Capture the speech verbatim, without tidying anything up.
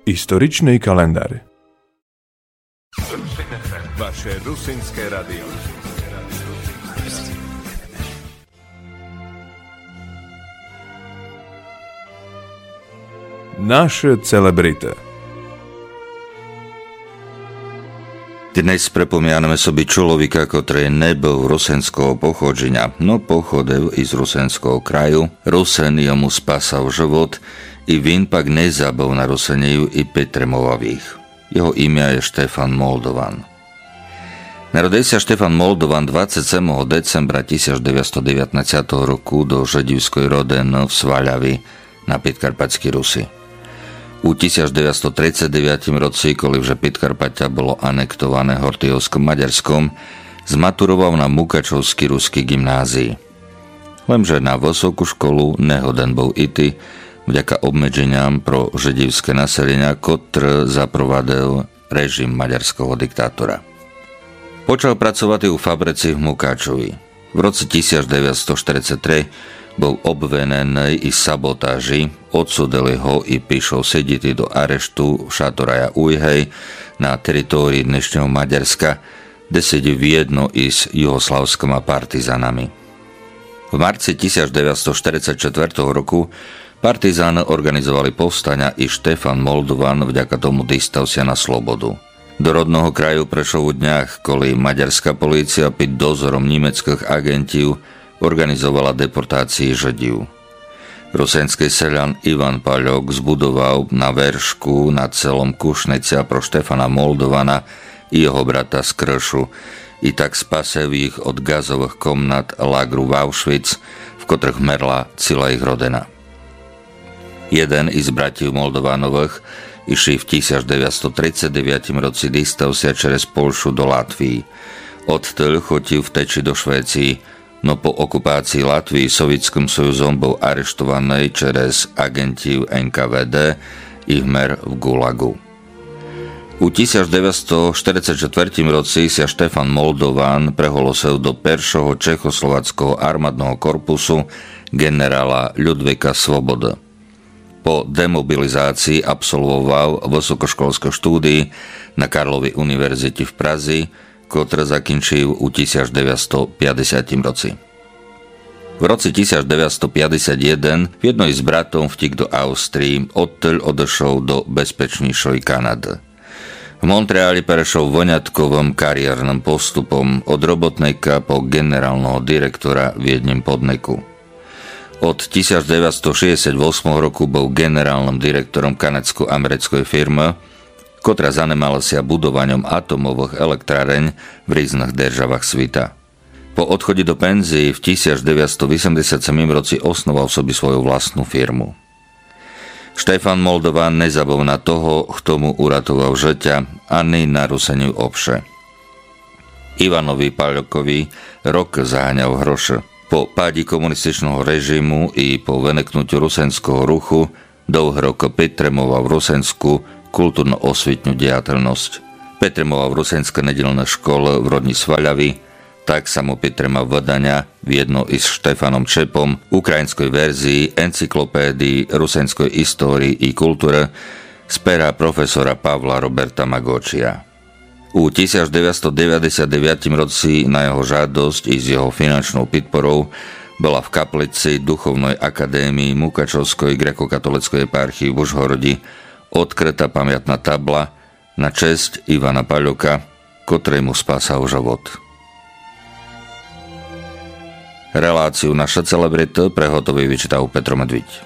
Исторични календар. Ваше русинске радио. Наше целебрити. Днес припомяне собі чоловіка, котрый не быв русинского походженя, но походив из русинского краю. Русин йому спасав живот, и він пак не забыв на Русинів и підтримовав їх. Його имя є Штефан Молдован. Народив ся Штефан Молдован двадцять семого децембра тисяч девятсто девятнадцятого року до жидівской родины в Сваляви на Підкарпатскій Руси. У тисяч девятсто тридцять девятім році, коли вже Підкарпаття было анектоване Гортийовскым Мадярском, зматуровав на Мукачовскій рускій ґімназії. Лемже на высоку школу не годен быв іти, вдяка обмедженям про жидівске населеня, котры запровадив режим мадярского диктатора. Почав працовати у фабриці в Мукачові. В році тисяч девятсто штерицять три быв обвиненый из саботажі, одсудили го и пішов сидіти до арешту в Шаторая Уйгей на території днешнього Мадярска, де сидів вєдно из югославскыма партизанами. В марці тисяч девятсто штерицять четвертого року партизаны орґанизовали повстаня и Штефан Молдован вдяка тому дістав ся на слободу. До родного краю пришов у днях, коли мадярска поліція під дозором німецкых аґентів орґанизовала депортації жидів. Русинскый селян Іван Пальок збудовав на вершку над селом Кушниця про Штефана Молдована и його брата Скрышу, и так спасив їх од ґазовых комнат лагру в Аушвіц, в котрых мерла ціла їх родина. Єден из братів Молдовановых ище в тисяч девятсто тридцять девятім році дістав ся через Польшу до Латвії. Одтыль хотів втечи до Швеції, но по окупації Латвії Совітскым Союзом быв арештованый через аґентів Н К В Д и вмер в ГУЛАГу. У тисяч девятсто штерицять четвертім році ся Штефан Молдован преголосив до першого чехословацкого армадного корпусу ґенерала Людвіґа Свободы. По демобілізації абсолвовав высокошколскы штудії на Карловій універзіті в Празі, котры закінчив у тисяч девятсто пятдесятім році. В році тисяч девятсто пятдесят єден вєдно из братом втік до Австрії, одтыль одышов до безпечнішой Канады. В Монтреалі перешов вынятковым карієрным поступом од роботника по ґенералного директора в єднім поднику. Од тисяч девятсто шістдесят восьмого року быв ґенералным директором канадско-америцкой фірмы, котра занимала ся будованьом атомовых електрарень в різных державах світа. По одході до пензії в тисяч девятсто вісемдесят семім році основав собі свою власну фірму. Штефан Молдован не забыв на того, хто му уратовав жытя, ани на Русинів обше. Іванові Пальокові рокы заганяв гроши. По паді комуністичного режиму и по выникнутю русинского руху довгы рокы підтримовав русинску културно-освітню діятельность. Підтримовав русинскы неділны школы в родній Сваляві, так само підтримав выданя вєдно из Штефаном Чепом україньской верзії енциклопедії русинской історії и културы з пера професора Павла Роберта Маґочія. У тисяч девятсто девятдесят девятім році на його жадосць и з його фінансову підпору была в каплици Духовной академії Мукачовской греко-католицкой єпархії в Ужгороді одкрыта памятна табла на чесць Івана Пальока, котрый му спасав живот. Релацію Наша целебрита приготовив и читав Петро Медвідь.